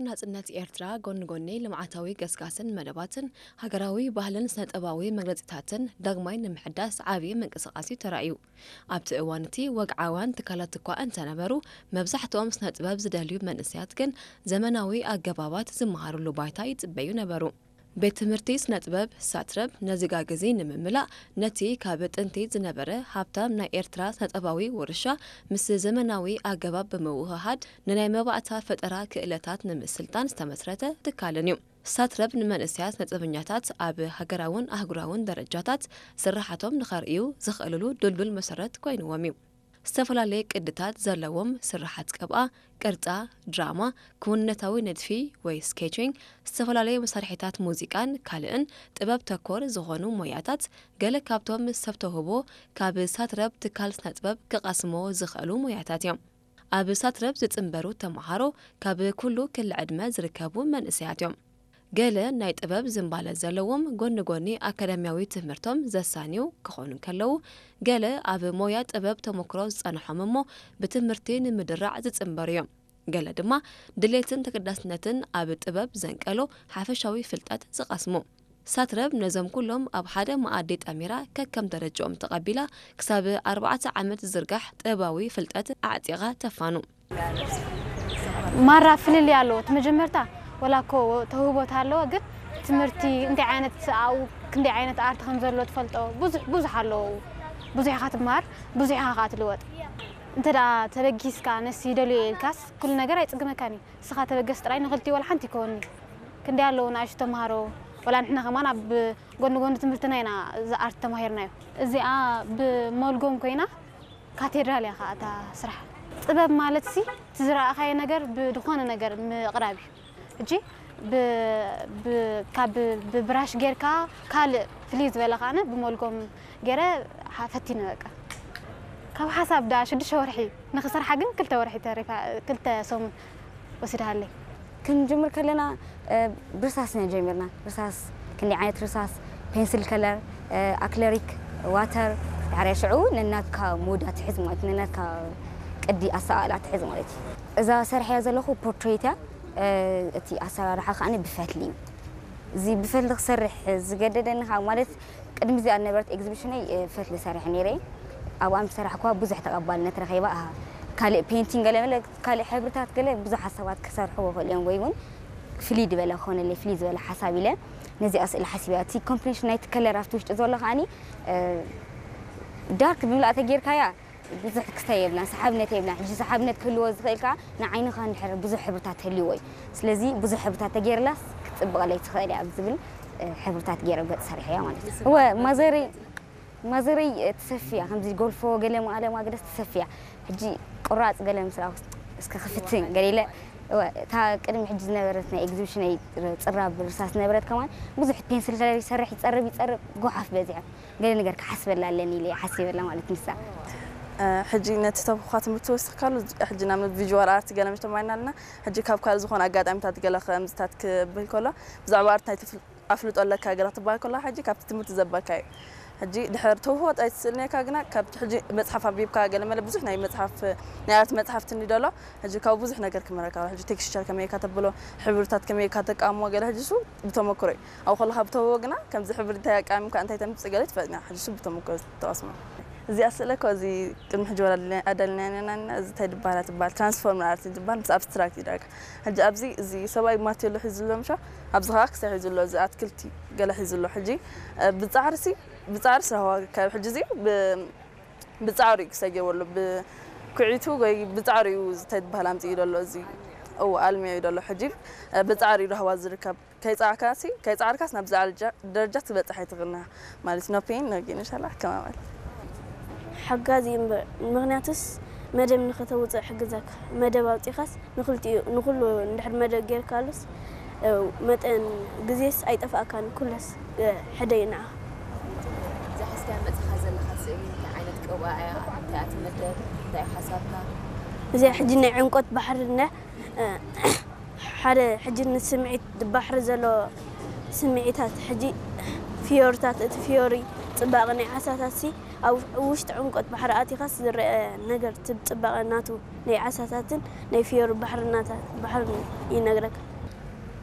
ናጽነት ኤርትራ ጎኒ ጎኒ ልምዓታዊ ገስጋስን መደባትን፣ ሃገራዊ ባህልን ስነ-ጥበባዊ መግለጺታትን ዳግማይ ንምሕዳስ ዓቢ ምንቅስቓስ እዩ ተራእዩ። ኣብቲ እዋን እቲ ወግዓውያን ትካላት እኳ እንተነበሩ፣ መብዛሕትኦም ስነ-ጥበብ ዝደልዩ መንእሰያት ግን ዘመናዊ ኣገባባት ዝመሃሩሉ ባይታ ይጽበዩ ነበሩ። ቤት ትምህርቲ ስነ-ጥበብ ሳትረብ ነዚ ጋግ እዚ ንምምላእ፣ ነቲ ካብ ጥንቲ ዝነበረ ሃብታም ናይ ኤርትራ ስነ-ጥበባዊ ውርሻ ምስ ዘመናዊ ኣገባብ ብምውህሃድ፣ ንናይ መባእታ ፈጠራ ክእለታት ንምስልጣን ዝተመስረተ ትካልን እዩ። ሳትረብ ንመንእሰያት ስነ-ጥበበኛታት ኣብ ሃገራውን ኣህጉራውን ደረጃታት ስርሓቶም ንኸርእዩ ዝኽእልሉ ድልዱል መሰረት ኮይንዎም እዩ። ዝተፈላለየ ቅድታት ዘለዎም ስርሓት ቅብኣ፣ ቅርጻ፣ ድራማ፣ ክውንነታዊ ንድፊ ወይ ስኬቺንግ፣ ዝተፈላለየ መሳርሒታት ሙዚቃን ካልእን ጥበብ ተኮር ዝኾኑ ሞያታት፣ ገለ ካብቶም ሰብ ተውህቦ ካብ ሳትረብ ትካል ስነ-ጥበብ ክቐስሞ ዝኽእሉ ሞያታት እዮም። ኣብ ሳትረብ ዝጽንበሩ ተመሃሮ ካብ ኩሉ ክሊ ዕድመ ዝርከቡ መንእሰያት እዮም። ገለ ናይ ጥበብ ዝንባለ ዘለዎም ጎኒ ጎኒ ኣካዳሚያዊ ትምህርቶም ዘሳንዩ ክኾኑ እንከለዉ፣ ገለ ኣብ ሞያ ጥበብ ተመክሮ ዝጸንሖም እሞ ብትምህርቲ ንምድራዕ ዝጽንበሩ እዮም። ገለ ድማ ድሌትን ተገዳስነትን ኣብ ጥበብ ዘንቀሎ ሓፈሻዊ ፍልጠት ዝቐስሙ። ሳትረብ ነዞም ኩሎም ኣብ ሓደ መኣዲ ጠሚራ ከከም ደረጃኦም ተቐቢላ ክሳብ ኣርባዕተ ዓመት ዝዝርጋሕ ጥበባዊ ፍልጠት ኣዕጢቓ ተፋኑ። ማራ ፍልልይ ኣለዎ። እቲ መጀመርታ ወላ እኮ ተውህቦ ተሃለወ፣ ግን ትምህርቲ እንታይ ዓይነት ኣብኡ ክንደይ ዓይነት ኣርት ከም ዘሎ ትፈልጦ ብዙሕ ብዙሕ ኣለዎ። ብዙሕ ኢኻ ትመሃር፣ ብዙሕ ኢኻ ከዓ ትልወጥ። እንተ ደኣ ተበጊስካ ነሲ ይደልዮ ኢልካስ ኩሉ ነገር ኣይጽግመካን እዩ። ንስኻ ተበገስ ጥራይ ንኽልቲኡ ወላ ሓንቲ ይከወኒ። ክንደይ ኣለዉ ንኣሽቱ ተምሃሮ፣ ወላ ንሕና ከማን ኣብ ጎኒ ጎኒ ትምህርትና ኢና እዚ ኣርት ተማሂርናዮ። እዚኣ ብመልጎም ኮይና ካቴድራል እያ ከዓ እታ ስራሕ። ጥበብ ማለት ሲ እቲ ዝረኣኻዮ ነገር ብድኾነ ነገር ምቕራብ እዩ። ሕጂ ብ- ብ- ካብ ብብራሽ ጌርካ ካልእ ፍልይ ዝበለ ከዓነ ብመልጎም ገይረ ሓ- ፈቲነ በቃ። ካብ ሓሳብ ዳ ሽዱሽተ ወርሒ ንኽሰርሓ ግን ክልተ ወርሒ ተሪፋ ክልተ ሰሙን ወሲድሃለይ። ክንጅምር ከለና ብርሳስ ኢና ጀሚርና። ርሳስ ክንደይ ዓይነት ርሳስ፣ ፔንስል ከለር፣ ኣክለሪክ፣ ዋተር፣ ድሕሪያ ሽዑ ነናትካ ሞዳ ትሕዝ ማለት እዩ፣ ነናትካ ቅዲ ኣሰኣእላ ትሕዝ ማለት እዩ። እዛ ሰርሐያ ዘለኹ ፖርትሬት እያ። እቲ ኣሰራርሓ ከዓኒ ብፈትሊ እዩ። እዚ ብፈትሊ ክሰርሕ ዝገደደኒ ከዓ ማለት ቅድሚ እዚኣ ዝነበረት ኤግዚቢሽነይ ፈትሊ ሰሪሐ ነይረ። ኣብኣ ምስ ሰራሕኩዋ ብዙሕ ተቐባልነት ረኺባ። ኣሃ፣ ካልእ ፔንቲንግ ገለ መለ ካልእ ሕብርታት ገለ ብዙሓት ሰባት ክሰርሕዎ ይኽእሉ እዮም ወይ እውን ፍልይ ዝበለ ክኾነለይ ፍልይ ዝበለ ሓሳብ ኢለ ነዚኣ ስእሊ ሓሲበያ። እቲ ኮምፕሌሽን ናይቲ ከለር ኣብቲ ውሽጢ ዘሎ ከዓኒ ዳርክ ብምልኣ ተጌርካያ ብዙሕ ክስታይ የብላን፣ ሰሓብነት የብላን። ሕጂ ሰሓብነት ክህልዎ ዝኽእል ከኣ ንዓይንኻ እንድሕር ብዙሕ ሕብርታት ህልዎ እዩ። ስለዚ ብዙሕ ሕብርታት ተገይርላስ ክትጽብቐለይ ትኽእል እያ ኣብ ዝብል ሕብርታት ገይረ ገጽ ሰሪሐያ ማለት እዩ። እወ ማዘረይ ማዘረይ ትሰፍያ ከምዚ ጎልፎ ገለ ማለ ማግደስ ትሰፍያ። ሕጂ ቁራጽ ገለ ምስ ረኣኹ እስከ ክፍትን ገለ ኢለ እወ እታ ቅድሚ ሕጂ ዝነበረት ናይ ኤግዚቢሽነይ ጽራብ ርሳስ ዝነበረት ከማን ብዙሕ ፔንስል ከለር ይሰርሕ ይጸርብ ይጸርብ ጎሓፍ በዚሑ። ገለ ነገር ክሓስበላ ኣለኒ ኢለ እየ ሓሲበላ ማለት ንሳ። ሕጂ ነቲ ተብኳ ትምህርቲ ወሲኽካሉ ሕጂ ናብ ቪዥዋል ኣርት ገለ ምሽ ተማይና ኣለና። ሕጂ ካብ ካልእ ዝኾነ ኣጋጣሚታት ገለ ከምዚታት ክብል ከሎ ብዛዕባ ኣርት ናይ ትፍል ኣፍልጦ ኣለካ ገለ ክትበሃል ከሎ ሕጂ ካብቲ ትምህርቲ ዘበካ እዩ። ሕጂ ድሕር ተውህቦ ጥራይ ትስእልነካ ግና ካብቲ ሕጂ መፅሓፍ ኣንቢብካ ገለ መለ ብዙሕ ናይ መፅሓፍ ናይ ኣርት መፅሓፍቲ እኒ ደሎ ሕጂ ካብ ብዙሕ ነገር ክመረካ ሕጂ ቴክስቸር ከመይ ኢካ ተብሎ ሕብርታት ከመይ ኢካ ተቃሞ ገለ ሕጂ እሱ ብተመክሮ እዩ። ኣብኡ ከለኻ ብተውህቦ ግና ከምዚ ሕብሪ እንታይ ኣቃሚምካ እንታይ ተምፅእ ገለ ትፈልጥ ኢና ሕጂ እሱ ብተመክሮ ተቐስሞ። እዚኣ ስእለ እኮ እዚ ቅድሚ ሕጂ ወላ ኣዳልና ነና እዚ እንታይ ድበሃላ ትበሃል ትራንስፎርመር ኣርት ትበሃል ምስ ኣብስትራክት እዩ ዳርጋ ሕጂ ኣብዚ እዚ ሰብኣይ ማቴሎ ሒዙ ኣሎ ምሻ ኣብዚ ከዓ ክሳይ ሒዙ ኣሎ እዚ ኣትክልቲ ገለ ሒዙ ኣሎ ሕጂ ብፃዕርሲ ብፃዕርሲ ረህዋ ካብ ሕጂ እዚ ብፃዕሩ እዩ ክሳይ ገይርዎ ኣሎ ብኩዒቱ ወይ ብፃዕሩ እዩ እንታይ ትበሃል ኣምፅኡ ዘሎ እዚ እዎ ኣልሚዑ እዩ ዘሎ ሕጂ ብፃዕሩ እዩ ረህዋ ዝርከብ ከይጻዕካሲ ከይጻዕርካስ ናብ ዝዓል ደረጃ ክትበጽሕ ኣይትኽእልን ኢኻ ማለት no pain no gain ኢንሻላህ ከማመል። ሓጋዚ እምበር ምኽንያቱስ መደብ ንኸተውፅእ ሕግዘካ መደብ ኣውፂኻስ ንኽልቲኡ ንኹሉ እንድሕር መደብ ጌርካሉስ መጠን ግዜስ ኣይጠፍኣካን ኩለስ ሕደ እዩ ንዓኻ። እዛ ሒዝካያ መፂኻ ዘለኻ ስእሊ እንታይ ዓይነት ቅብኣ እያ? እንታይ እያ ትምደብ? እንታይ እዩ ሓሳብካ? እዚኣ ሕጂ ናይ ዕምቆት ባሕሪ እንድያ ሓደ ሕጂ ንስምዒት ባሕሪ ዘሎ ስምዒታት ሕጂ ፍዮርታት እቲ ፍዮሪ ፅባቐ ናይ ዓሳታት ሲ ኣብ ውሽጢ ዕምቆት ባሕሪ ኣቲኻስ ዝረአ ነገር እቲ ፅባቐ ናቱ ናይ ዓሳታትን ናይ ፍዮሪ ባሕርናታት ባሕርን ይነግረካ።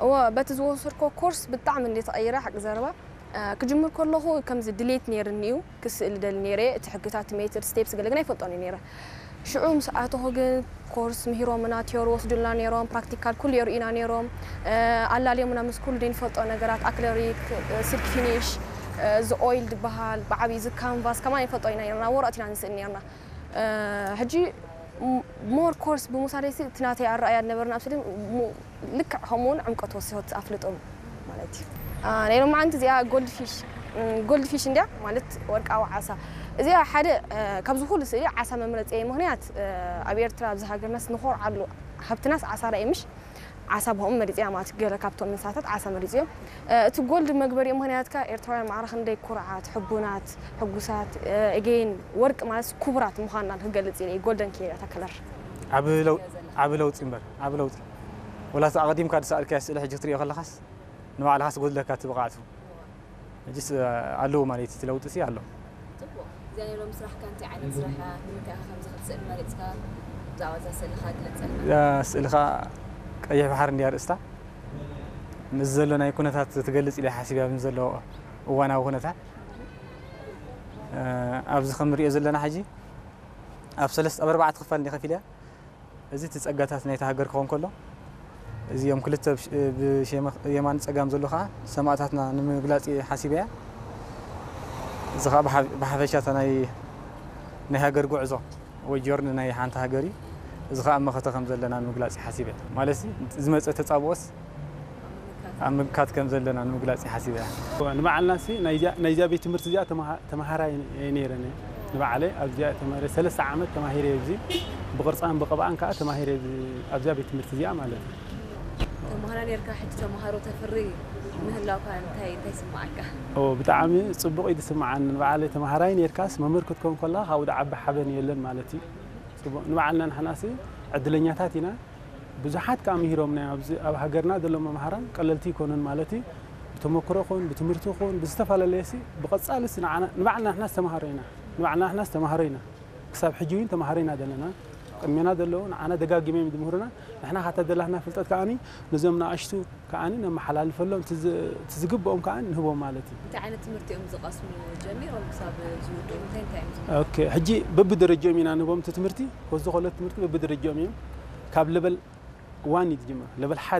እወ፣ በቲ ዝወሰድኮ ኮርስ ብጣዕሚ እንደ ተቐይረ ሓቂ ዘረባ። እ፣ ክጅምር ከለኹ ከምዚ ድሌት ነይርኒ እዩ፣ ክስእል ደሊ ነይረ። እቲ ሕግታት፣ እቲ ሜትድ፣ ስቴፕስ ገለ ግን ኣይፈልጦን እዩ ነይረ። ሽዑ ምስ ኣተኹ ግን ኮርስ ምሂሮምና፣ ቲዮሪ ወስዱልና ነይሮም፣ ፕራክቲካል ኩሉ የርእዩና ነይሮም። እ፣ ኣላልዮምና ምስ ኩሉ ዘይንፈልጦ ነገራት፣ ኣክለሪክ፣ እ፣ ሲልክ ፊኒሽ፣ እ፣ እዚ ኦይል ዝበሃል ብዓብዪ፣ እዚ ካንቫስ ከማን ይፈልጦ ኢና ነይርና፣ ወረቐት ኢና ንስእል ነይርና። እ፣ ሕጂ ም-፣ ሞር ኮርስ ብምውሳደይ ሲ፣ እቲ ናተይ ኣረኣእያ ዝነበርና ኣብ ስእሊ ሙ-፣ ልክዕ ከምኡ እውን ዕምቆት ወሲኹ ኣፍልጦ ማለት እዩ። አ፣ ናይ ሎማዓንቲ እዚኣ ጎልድ ፊሽ፣ ም፣ ጎልድ ፊሽ እንድያ ማለት ወርቃዊ ዓሳ። እዚኣ ሓደ፣ እ፣ ካብዚ ኩሉ ስእሊ ዓሳ መምረፂ ምኽንያት፣ እ፣ ኣብ ኤርትራ ኣብዚ ሃገርናስ ንኾርዓሉ ሃብትናስ ዓሳ ራእይ ምሽ ዓሳ ብኦም መሪፂያ ማለት ገለ ካብቶም እንስሳታት ዓሳ መሪፂ እዮም። እ፣ እቲ ጎልድ መግበሪኡ ምኽንያት ከኣ ኤርትራውያን ማዕረ ክንደይ ኩርዓት፣ ሕቡናት፣ ሕጉሳት፣ እ፣ ኤጌን ወርቂ ማለት ክቡራት ምዃንና ክገልጽ ኢለ እዩ ጎልደን ከይረ እታ ከለር። ዓቢ ለው-፣ ዓቢ ለውጢ እምበር፣ ዓቢ ለውጢ። ወላ እታ ኣቐዲምካ ዝሰኣልካያ ስእሊ ሕጂ ክትሪኦ ከለኻስ ንባዕልኻስ ጎድለካ እቲ ብቕዓቱ። ሕጂስ ኣለዎ ማለት እዩ፣ እቲ ለውጢ ሲ ኣሎ። ጽቡቕ። እዚኣ ናይ ሎሚ ስራሕካ እንታይ ዓይነት ስራሕ እያ? ንምንታይ ኢኻ ከምዚ ክትስእል መሪጽካ? ብዛዕባ እዛ ስእልኻ ግለጸልና። እዛ ስእልኻ ቀይሕ ባሕሪ እንድያ ኣርእስታ። ምስ ዘሎ ናይ ኩነታት ትገልጽ ኢለ ሓሲበ፣ ኣብዚ ዘሎ እዋናዊ ኩነታት። እ፣ ኣብዚ ከም ንሪኦ ዘለና ሕጂ ኣብ ሰለስተ፣ ኣብ ኣርባዕተ ክፋል እንድያ ከፊለያ። እዚ እቲ ጸጋታት ናይታ ሃገር ክኸውን ከሎ፣ እዚኦም ክልተ ብሽ-፣ ብሸመ-፣ የማን ጸጋም ዘሎ ኸኣ ሰማእታትና ንምግላጽ እየ ሓሲበያ። እዚ ኸኣ ብሓ-፣ ብሓፈሻ እታ ናይ፣ ናይ ሃገር ጉዕዞ ወይ ጆርኒ ናይ ሓንቲ ሃገር እዩ። እዚ ኸኣ ኣብ መኸተ ከም ዘለና ንምግላጽ እየ ሓሲበያ። ማለት ዝመጸ ተጻብኦስ ኣብ ምምካት ከም ዘለና ንምግላጽ እየ ሓሲበያ። ንባዕልና ሲ ናይዚኣ፣ ናይዚኣ ቤት ትምህርቲ እዚኣ ተማሃ-፣ ተማሃራይ እየ ነይረ። ንባዕለይ ኣብዚኣ ተማሂረ፣ ሰለስተ ዓመት ተማሂረ ኣብዚ። ብቕርጻን ብቐብኣን ከኣ ተማሂረ ኣብዚ፣ ኣብዚኣ ቤት ትምህርቲ እዚኣ ማለት እዩ። ተማሃራ ነርካ፣ ሕጂ ተማሃሮ ተፍሪ ምህላውካ እንታይ፣ እንታይ ይስምዓካ? ኦ፣ ብጣዕሚ ጽቡቕ እዩ ዝስምዓኒ። ንባዕለይ ተማሃራይ ነርካስ መምህር ክትከውን ከለኻ ካብኡ ዝዓቢ ሓበን የለን ማለት እዩ። ጽቡቕ። ንባዕልና ንሕናሲ ዕድለኛታት ኢና። ብዙሓት ከኣ ምሂሮምና እዮም። ኣብዚ ኣብ ሃገርና ዘለዉ መምሃራን ቀለልቲ ኣይኮኑን ማለት እዩ። ብተመክሮ ኹን፣ ብትምህርቲ ኹን፣ ብዝተፈላለየ ሲ፣ ብቐጻሊ ሲ ንዓና፣ ንባዕልና ንሕናስ ተማሃሮ ኢና። ንባዕልና ንሕናስ ተማሃሮ ኢና። ክሳብ ሕጂ እውን ተማሃሮ ኢና ዘለና። ቅድሜና ዘለዉ ንዓና ደጋጊሞም እዮም ዝምህሩና። ንሕና ካታ ዘላትና ፍልጠት ከኣኒ ነዞም ንኣሽቱ ከኣኒ ነመሓላልፈሎም፣ እቲ ዝ-፣ እቲ ዝግብኦም ከኣ ንህቦም ማለት እዩ። እንታይ ዓይነት ትምህርቲ እዮም ዝቐስሙ ጀሚሮም ክሳብ ዝውድኡ? እንታይ እንታይ እዮም ዝምህሩ? ኦኬ፣ ሕጂ በብደረጃኦም ኢና ንህቦም እቲ ትምህርቲ። ኮዚ ኮሌጅ ትምህርቲ በብደረጃኦም እዮም። ካብ ለበል ዋን እዩ ዝጅምር። ለበል ሓደ